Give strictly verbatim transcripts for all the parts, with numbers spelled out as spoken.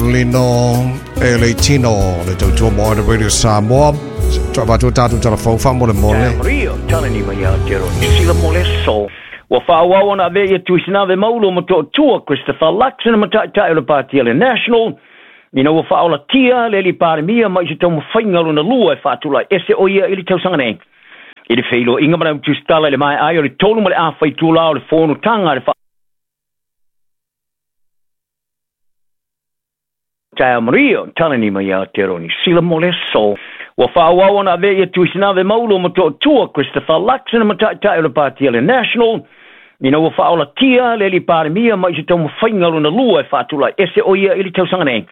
Lino e le tino le tautua mo le Radio Samoa. Toa tātou telefou wha mo le mole. Maria, tala ni mai a te roni. Sila mo le so. Ua whaawau ana avea ia Tuisinave Maulo ma to'atua Christopher Luxon ma ta'ita'i o le Pāti a le National. Ina ua faaolatia le alii Palemia mai se taumafaiga lona lua e faatulai ese o ia i le tausaga nei. I le feiloaiga ma le autusitala i le maeai o le tolu ma le afaitulā o le fonotaga le Taea Maria, talani mai a te roni. Sila mo le so. Ua whaawau ana avea ia Tuisinave Maulo ma to'atua Christopher Luxon ma ta'ita'i o le Pāti a le National. Ina ua faaolatia le alii Palemia mai se taumafaiga lona lua e faatulai ese o ia i le tausaga nei.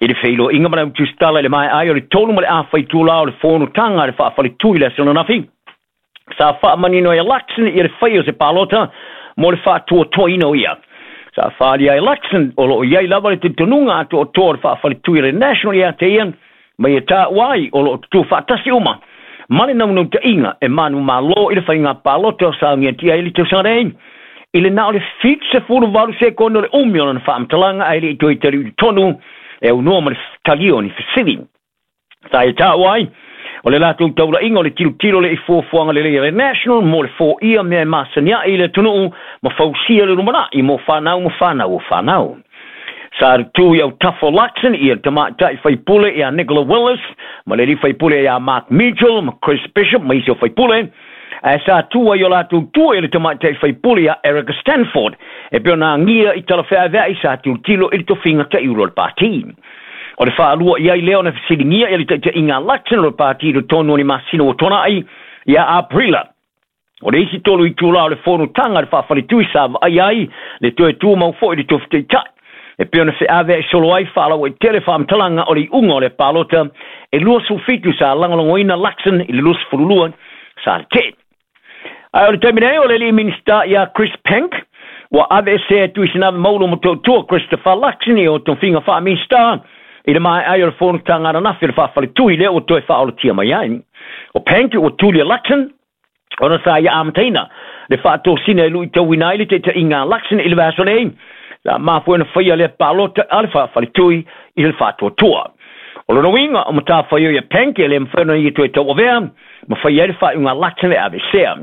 I le feiloaiga ma le autusitala i le maeai o le tolu ma le afaitulā o le fonotaga le faafaletu i le aso ananafi. Sa faamanino ai Luxon ia le fai o se palota mo le faatuatuaina o ia. Sa whaali ai Luxon o loo iai lava le talitonuga a toatoa o le faafaletu i le National ia te ia mai e tāua ai o loo tutu faatasi uma. Ma le naunauta e manu malo i le whainga palota o saungia tia i le tausaga nei. I le na o le fitu sefulu valu sekono le umi o lana faamatalaga ae le i toe tali i tonu e aunoa ma le talia o ni fesili. Sa e tāua ai o le latou taulaiga o le tilotilo le i fuafuaga lelei a le National mo le foia mea e masania'i i le atunuu ma fausia le lumana'i mo fanau ma fanau o fanau. Sa tutū i autafa o Luxon ia le tamaitai faipule ia Nicola Willis ma le alii faipule ia Mark Mitchell ma Chris Bishop ma isi o faipule. Ae sa tu ai o latou tua i le tamaitai faipule ia Erica Stanford e pei ona agia i talafeavea'i sa tilotilo i le tofiga ta'iulo o le pātī. O le faalua i ai lea ona fesiligia ia le taʻitaʻiga a Luxon o le pātī i totonu o ni masina ua tuanaʻi ia Aperila. O le isi tolu itulā o le fonotaga le faafaletui sa vaai ai le toe tumau foʻi i le tofi taʻitaʻi. E pei ona feaveaʻi solo ai faalauaitele faamatalaga o le iuga o le palota e luasefulufitu sa lagolagoina Luxon i le luasefululua sa le teʻe. Ae o le taimi nei o le alii Minista ia Chris Penk ua aveesea Tuisinave Maulo ma toatua Christopher Luxon i o tofiga faaminista i le maeai o le fonotaga ananafi o le faafaletui lea ua toe faaolatia mai ai. O Penk ua tuli a Luxon ona sa ia amataina le faatosina e luitauina ai le taʻitaʻiga a Luxon i le vaiaso nei. La mafua ona faia lea palota a le faafaletui i le faatuatua. O lona uiga o matafaioi ia Penk e le mafai ona ia toe tauavea ma faia ai le faaiuga a Luxon e aveesea.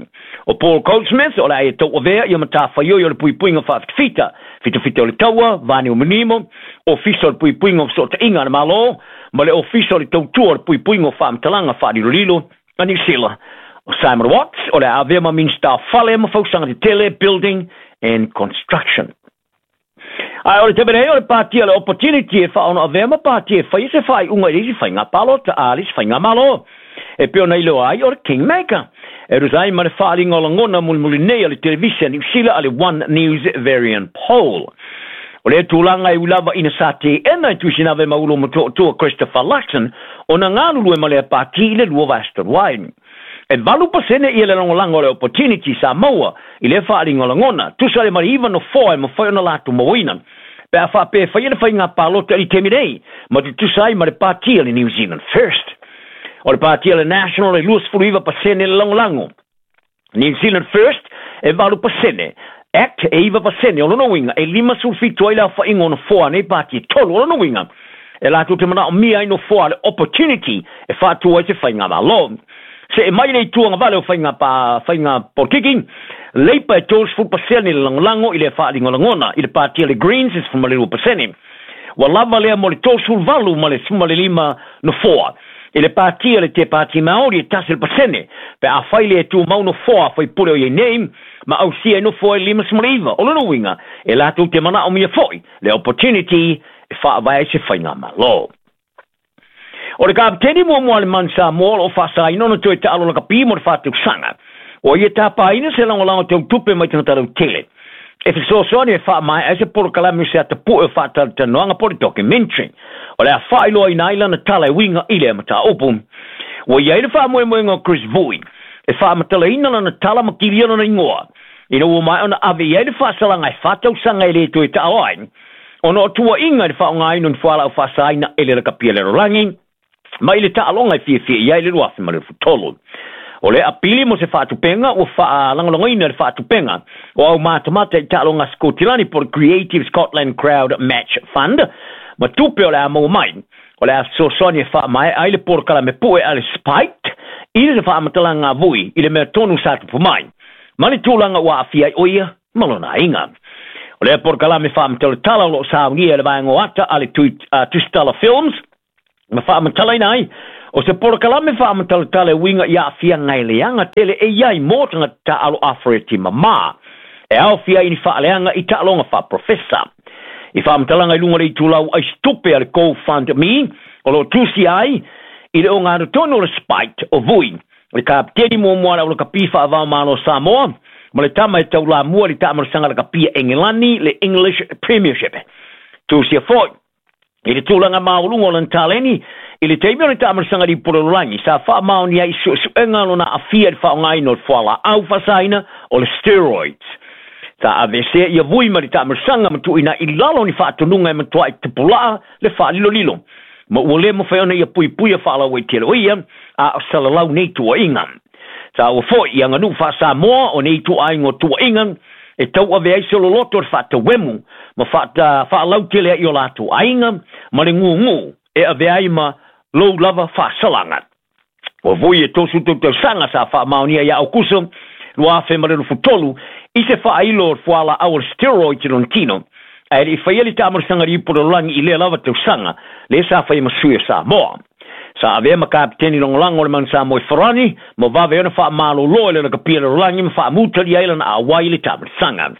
O Paul Goldsmith o le a ia tauavea ia matafaioi o le puipuiga faafitafita, fitafita o le taua, vane o manimo, ofisa o le puipuiga o fesootaiga a le Malo, ma le ofisa o le tautua o le puipuiga o faamatalaga faalilolilo a Niu Sila. O Simon Watts o le a avea ma Minista o Fale ma Fausaga Tetele, Building and Construction. Ae o le taimi nei o le pāti a le Opportunity e faaono avea ma pāti e faia se faaiuga i le isi faiga palota a le isi faiga malo. E pei ona iloa ai o le Kingmaker. E tusa ai ma le faaaliga o lagona mulimuli nei a le televise a Niu Sila a le One News Varian Poll. O le tulaga e ui lava ina sa teena e Tuisinave Maulo ma toatua Christopher Luxon ona galulue ma lea pāti i le lua vaiaso talu ai. E valu pasene ia le lagolago o le Opportunity sa maua i lea faaaliga o lagona, tusa le ma le iva nofoa e mafai ona latou mauaina. Pe a faapea e faia le faiga palota i le taimi nei, ma tutusa ai ma le pāti a le New Zealand First. O le pāti a le National e luasefulu iva pasene le lagolago. New Zealand First e valu pasene. Act e iva pasene o lona uiga e limasefulu fitu ai le aofaiga o nofoa nei pāti e tolu o lona uiga. E latou te manaomia ai nofoa a le Opportunity e faatua ai se faiga malo. Se e mai le ituaga vale o faiga pa faiga polokiki, Leipa e tolusefulu pasene le lagolago i le faaaliga o lagona i le pāti a le Greens e sefulu ma le lua pasene. Ua lava lea mo le tolusefulu valu ma le sefulu ma le lima nofoa. I le pāti a le Te Pāti Māori e tasi le pasene, pe afai le e tumau nofoa faipule o iai nei, ma ausia ai nofoa e limasefulu ma le iva. O lona uiga, e latou te manaomia foʻi le Opportunity e faavae ai se faiga malo. O le kapiteni muamua a le Manu Samoa o loo faasaina ona toe taalo lakapi mo le faatausaga. Ua ia tapaina se lagolago tautupe mai tagata lautele. E fesoasoani e faamaea ai se polokalame o se atapue o faatalatalanoaga po o le documentary. O le a faailoaina ai lana tala e uiga i lea mataupu. Ua iai le faamoemoega o Chris Vui e faamatalaina lana tala ma kilia lona igoa. Ina ua maea ona ave i ai le faasalaga e faatausaga e le toe taalo ai. Ona o tuuaiga i le faaaogaina o ni fualaau faasaina e le lakapi a le lalolagi mai le taaloga e fiafia i ai le luafe ma le futolu. O le apili mo se faatupenga ua faalagolagoina le faatupenga o au matamata i taaloga a Sikotilani po o le Creative Scotland Crowd Match Fund Ma tupe o le a maua mai o le a fesoasoani e faamaea ai le polokalame pue a le Spiked i le faamatalaga a Vui i le mea tonu sa tupu mai ma le tulaga ua aafia ai o ia ma lona aiga. O lea polokalame faamatalatala o loo saunia e le vaega o ata a le Tusitala Films ma faamatalaina ai o se polokalame faamatalatala e uiga i aafiaga e leaga tele e iai mo tagata taaalo Afereti mamā e aofia ai ni faaleaga i taaloga faaprofesa. I faamatalaga i luga o le itulau aisitupe a le GoFundMe o loo tusia ai i le ogatotonu o le Spiked o Vui, le kapiteni muamua a le aulakapi faavaomalo o Samoa ma le tama e taulamua i le taamalosaga lakapia Engelani le English Premiership. Tusia foi i le tulaga maualuga o lana taleni i le taimi o le taamalosaga lipolololagi sa faamaonia ai i suesuega lona aafia i le faaaogaina o le fualaau faasaina o le steroids. Sa aveesea ia Vui ma le taamalosaga ma tuuina i lalo ni faatonuga e matuai tapulaa le faalilolilo ma ua le mafai ona ia puipuia faalauaitele o ia a o salalau nei tuuaiga. Sa ua foi i aganuu faa-Samoa o nei ituaiga o tuuaiga e tauave ai se loloto o le faatauemu ma faalautele ai o latou aiga ma le gugu e ave ai ma lou lava faasalaga. Ua Vui e tosu tautausaga sa faamaonia ia Aukuso lua afe ma le lufutolu i se faailo o le fualaau o le steroids i lona tino ae le i faia le taamalosaga lipololagi i lea lava tausaga lea sa faia ma sui o Samoa. Sa avea ma kapiteni lagolago o le Manu Samoa i Farani ma vave ona faamalōlō e le lakapia lalolagi ma faamutalia ai lana auai i le taamalosaga.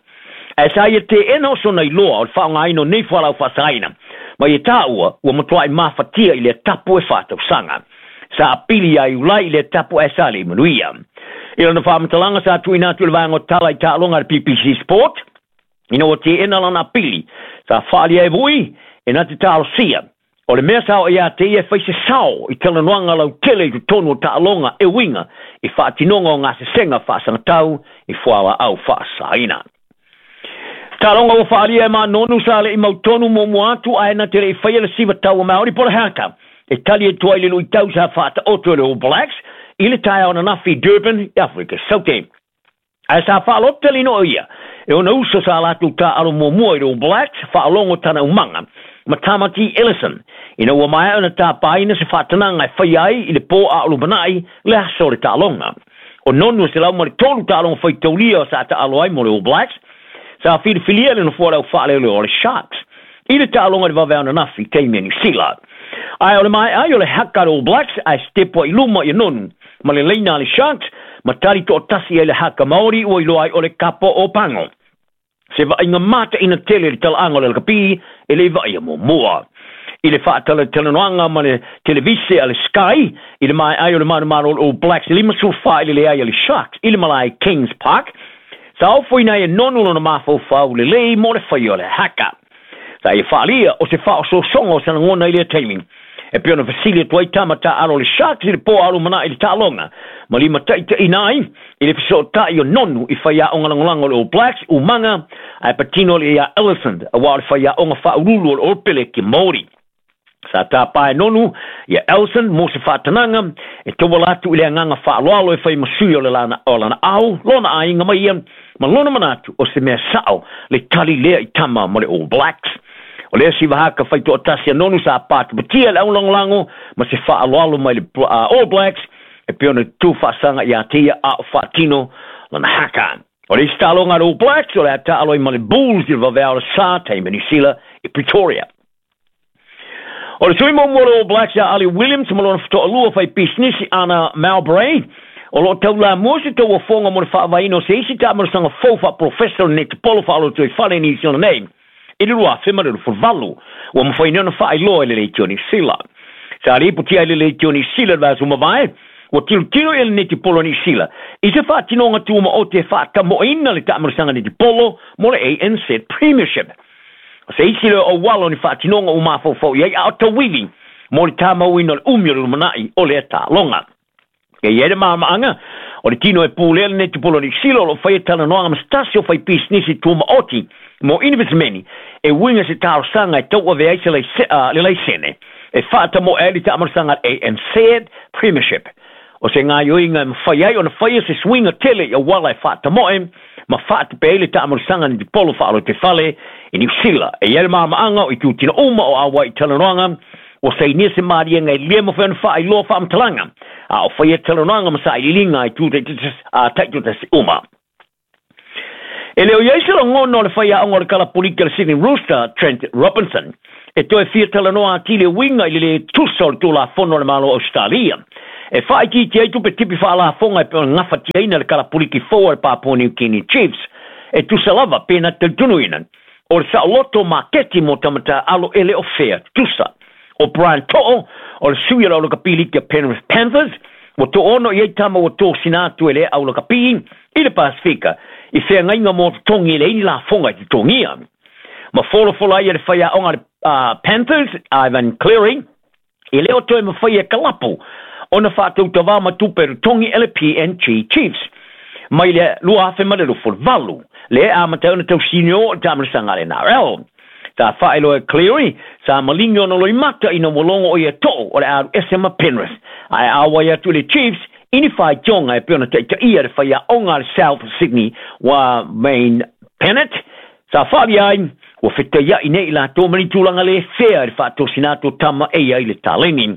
Ae sa ia teena o sona iloa o le faaaogaina o nei fualaau faasaina ma ia taua ua matuai mafatia i lea tapu e faatausaga. Sa apili ia Iulai i lea tapu ae sa le i manuia. I lana faamatalaga sa tuuina atu i le vaega o tala i taaloga a le P B C Sport ina ua teena lana apili sa faalia e Vui e na te talosia o le mea sa o ia te ia e fai se sao i talanoaga lautele i totonu o taaloga e uiga i faatinoga o gasesega faasagatau i fualaau faasaina. Taaloga ua faalia e Manonu sa le i mautonu muamua atu ae na te le i faia le siva taua Maori po le haka e tali atu ai le luitau sa faataoto e le All Blacks i le taeao ananafi i Durban i Afrika Saute. Ae sa faaloto talinoa ia e ona uso sa latou taaalo muamua i le All Blacks faalogo tana umaga ma Tamati Ellison ina ua maea ona tapaina se faatanaga e faia ai i le pō a o lumanai le aso o le taaloga. O nonu e selau ma le tolu taaloga faitaulia sa taalo ai mo le All Blacks sa filifilia le nofoa o le aufaaleoleo o le Sharks i le taaloga i le vave ananafi taimi a Niu Sila. Ae o le maea ai o le haka a le All Blacks ae stepo i luma ia nonu ma le leina a le Sharks ma tali toatasi ai le haka Maori ua iloa ai o le kapo o Pango. Se vaaiga mataina tele le talaaga o le lakapi e le vaai muamua. I le faatalatalanoaga ma le televise a le Sky i le maea ai o le manumalo o le All Blacks i lima sefulu fa i le leai a le Sharks i le malae Kings Park sa ofoina ai e nonu lona mafaufau lelei mo le faia o le haka. Sa ia faalia o se faaosoosoga o sana gona i lea taimi e pei ona fesili atu ai tama taaalo o le Sharks i le pō a o lumanai i le taaloga ma limataitaiina ai i le fesootai o nonu i faiaoga lagolago o le All Blacks umaga ae patino le ia Ellison auā o le faiaoga faaululu o le All Peleki Maori. Sa tapā e nonu ia Ellison mo se faatanaga e tauala atu i le agaga faaaloalo e fai ma sui o le lana, o lana ao lona aiga mai ia ma lona manatu o se mea sao le tali lea i tama mo le All Blacks. O lea siva haka faitoatasi a nonu sa patapatia le aulagolago ma se faaaloalo mai le uh, All Blacks e pei ona tuufaasaga ia te ia a o faatino lana haka. O le isi taaloga a le All Blacks o le a taalo ai ma le Bulls i le vaveao o le sa taimi Niu Sila i Pretoria. O le sui muamua o le All Blacks ia Ali Williams ma lona fetoalua fai pisinisi Ana Mowbray o loo taulamua se tauafoga mo le faavaeina o se isi taamalosaga fou faaprofesa o le netipolo faalotoifale i Niu Sila nei i le lua afe ma le luafuvalu ua mafaina ona faailoa i le leitio Niu Sila. Sa lipotia i le leitio Niu Sila le vaiaso mavae ua tilotilo ia le netipolo a Niu Sila i se faatinoga tumaote e faatamoeina le taamalosaga netipolo mo le A N Z Premiership. O se isi lea o auala o ni faatinoga ua mafaufau i ai a o tauivi mo le tamauina o le umi o le lumanai o lea taaloga. E i ai le maamaaga o le tino e pulea le netipolo a Niu Sila o loo faia talanoaga ma se tasi o fai pisinisi tumaoti mo inivesimeni e uiga se talosaga e tauave ai se le laisene e faatamoe ai le taamalosaga A N Z Premiership. O se gaioiga e mafai ai ona faia se suiga tele i auala e faatamoe Ma faatupe ai le taamalosaga ni polo faalotefale i Niusila. E i ai le maamaʻaga o itutina uma o auai i talanoaga ua sainia se maliega e lē mafai ona faailoa faamatalaga a o faia talanoaga ma sailiiliga i tu taitotasi uma. E le o iai se lagona o le faiaoga o le kalapuliki a le Sydney Rooster Trent Robinson e toe fia talanoa atili e uiga i le lē tusa o le tulafono o le Malo Australia e faaitiiti ai tupe tipi faalafoga e pe ona gafatiaina le kalapuliki fou a le Papua New Guinea Chiefs. E tusa lava pe na talitonuina o le saoloto maketi mo tamatā alo e le o fea tusa. O Brian To'o o le sui o le aulakapī liki a Penrith Panthers ua to'ono i ai tama ua tosina atu e le aulakapī i le Pasifika i feagaiga mo totogi e leai ni lafoga i totogia. Ma folafola ai e le faiaoga le uh, Panthers Ivan Cleary e le o toe mafai e kalapu ona faatautavā ma tupe totogi e le P N G Chiefs mai le lua afe ma le luafuluvalu le amata ona tausini o le taamalosaga a le N R L. Sa faailoa e Cleary sa maligi ona loimata ina ua logo o ia To'o o le alu ese ma Penrith ae auai atu le Chiefs i ni faitioga e pei ona taitaia le faiaoga a le South Sydney ua Wayne Bennett. Sa faalia ai ua fetaiaʻi nei i latou ma ni tulaga lē fea i le faatosina atu o tama e ia i le taleni.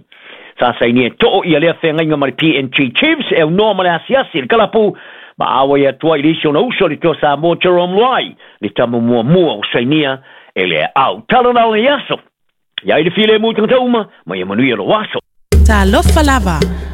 Sa sainia e To'o ia lea feagaiga ma le P N G Chiefs e aunoa ma le asiasi le kalapu ma auai atu ai le isi ona uso le toa Samoa Jarome Luai, le tama muamua o sainia e le au talanao i aso. Ia i le filemu tagata uma, ma ia manuia lo aso. Talofa lava.